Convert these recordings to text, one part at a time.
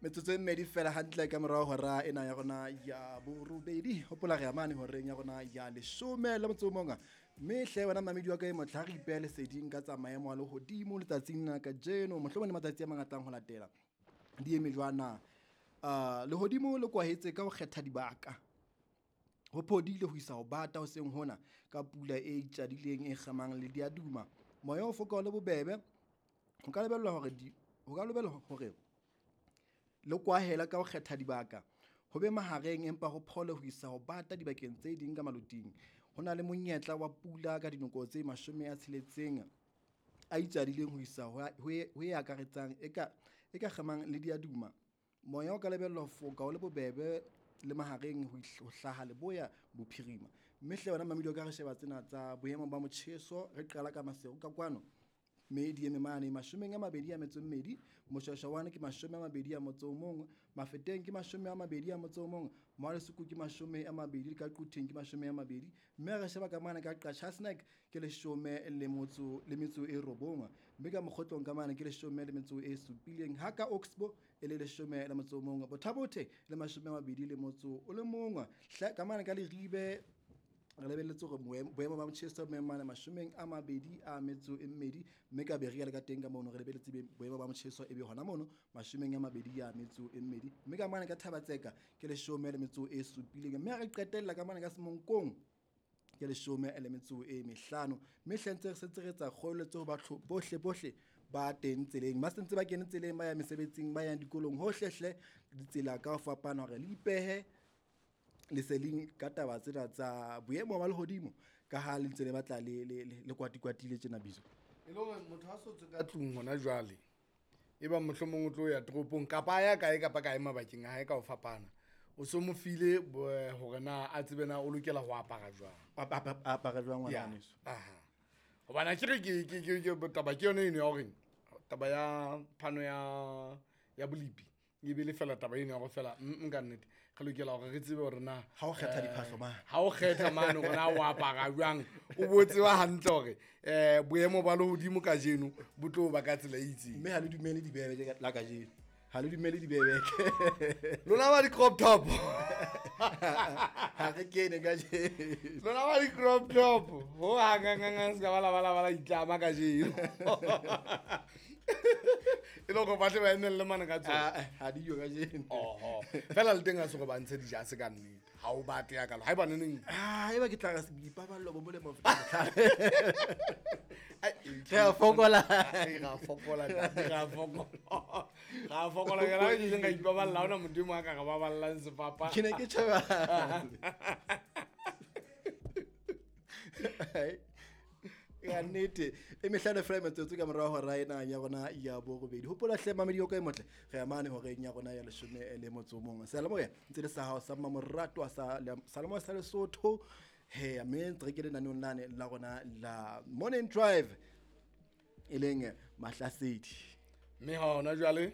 Metsotso e mmedi fela hantle ka morao hora ena ya rona ya borobedi. Hopola re amane horeng ya rona ya 11. Mme hle wena mamedi wa ka e motlha re ipehe leseding ka tsa maemo a lehodimo letsatsing la kajeno. Mohlomong le matsatsi a mangatang ho latela. Di eme jwana. Lehodimo le kwahetse ka ho kgetha dibaka. Ho phodile ho isa ho bata hoseng hona ka pula e itjadileng e kgamang le diaduma. Moya o foka o le bobebe. Ho ka lebellwa hore le kwahela ka ho kgetha dibaka. Ho be mahareng empa ho phole ho isa ho bata dibakeng tse ding ka maloting. Ho na le monyetla wa pula ka dinako tse 60 a itjadileng ho isa ho e akaretsang e ka kgamang le diaduma. Moya o ka lebellwa ho foka o le bobebe le mahareng ho hlaha leboya bophirima. Mme hle wena mamedi o ka re sheba tsena tsa boemo ba motjheso, re qala ka Maseru ka kwano. Mme di eme mane 22, Moshwashwawane ke 21, Mafeteng ke 21, Mmalesoko ke 20, ka Quthing ke 20. Mme re sheba ka mane ka Qachatsnek ke 19, mme ka Mokgotlong ka mane ke 17, ha ka Oxbow e le 11, Bothabothe le 21, ka mane ka Leribe re lebelletse hore boemo ba motjheso bo mane 22, mme ka Berea le ka teng ka mono re lebelletse boemo ba motjheso e be hona mono 22, mme ka mane ka Thabatseka ke 17, mme re qetella ka mane ka Semonkong ke 15. Mme hle ntse re sentse re etsa kgoeletso ho batho bohle ba teng tseleng, ba sentse ba kene tseleng, ba ya mesebetsing, ba yang dikolong, hohle hle ditsela ka ho fapana hore le ipehe leseling ka taba tsena tsa boemo ba lehodimo ka ha le ntse le batla le kwatikwatile tjena bizo. E le hore motho ha so tswe ka tlung hona jwale, e ba mohlomong o tlo ya toropong kapa a ya kae kapa kae mabakeng a hae ka ho fapana, o so mo file hore na a tsebe na o lokela ho apara jwang. Apara jwang ngwana weso. Aha. Hobane ke re ke taba ke yona eno ya hore taba ya phano ya bolipi e be le fela taba eno ya go fela nka nnete re lokela hore re tsebe hore na ha o kgetha diphahlo mane, ha o kgetha mane hore na o apara jwang, o bo tseba hantle hore boemo ba lehodimo kajeno bo tlo ba ka tsela e itseng. Mme ha le dumele dibebe la kajeno, ha le dumele dibebe lona ba di-crop top ha re kene kajeno, lona ba di-crop top ho hangangangang se ka ba la ba la ba la itlama kajeno. E le hore ba tle ba emelle mane ka tsona. Ha di yo kajeno. Oho. Fela le teng ha se hore ba ntshe dijase ka nnete. Ha o batle ya kalo. Haeba neneng. Haeba ke tla re boipaballo bo molemo ho feta bohlale. Ai, Re a fokola. Re a fokola, ntate, re a fokola. Re a fokola, ke la ke ileng ka ipaballa, ha hona Modimo a ka re baballang sefapano. Ke ne ke tjheba. Ya nnete e mehlano fela metsotso ka morao hora ena ya rona ya borobedi. Hopola hle mamedi o ka e motle, re amane horeng ya rona ya 11. Seyalemoya ntse le sa hao sa mmamoratwa sa Seyalemoya sa Lesotho. He, mme ntse re ke lenaneong lane la rona la Morning Drive e leng Mahlasedi. Mme hona jwale,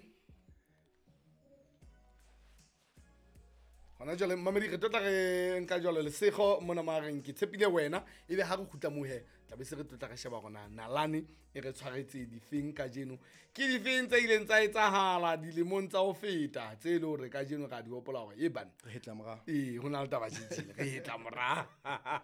hona jwale mamedi re tlotla re nka jwalo lesego mona mareng ke tshepile wena ebe ha re kgutla mohe tla be se re tlotla re sheba rona nalane e re tshwaretse difeng kajeno, ke difeng tse ileng tsa etsahala dilemong tsa ho feta tse le hore kajeno ra di hopola hore e bana re hetla morao. Ee, ho na le taba tjhitjhile, re hetla morao.